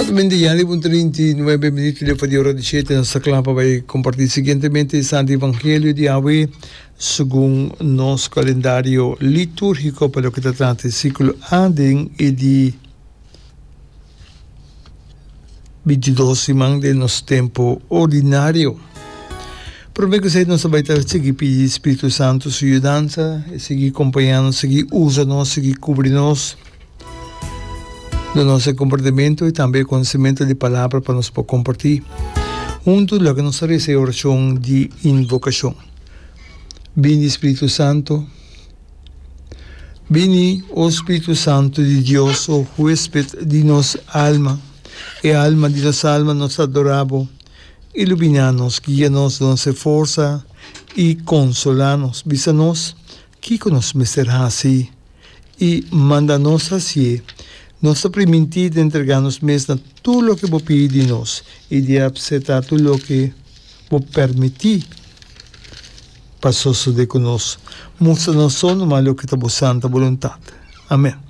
Exactamente ya riba un 39 minuut leu di ora di shete nos ta kla pa bai comparti siguientemente e Santo Evangelio di awe segun nos calendario liturgico pa loke ta trata e ciclo A den e di 22 siman den nos tempo ordinario. Prome ku esei nos ta bai ta sigui pidi Spiritu Santo su yudansa, e sigui kompañá nos, sigui usa nos, sigui kubri nos den nos e komportamentu i tambe e konosementu di palabra pa nos por kompartí. Huntu loke nos ta resa e orashon di invokashon. Bini Spiritu Santo. Bini, o Spiritu Santu di Dios, o huesped di nos alma, e alma di nos alma, nos ta adorá bo. Iluminá nos, guia nos, duna nos e forsa i konsolá nos. Bisa nos kiko nos mester hasi i manda nos hasié. Nos ta primintí di entregá nos mes na tur loke bo pidi di nos i di apseptá tur loke bo permití pa sosodé ku nos. Mustra nos so numa loke ta bo santa boluntat. Amèn.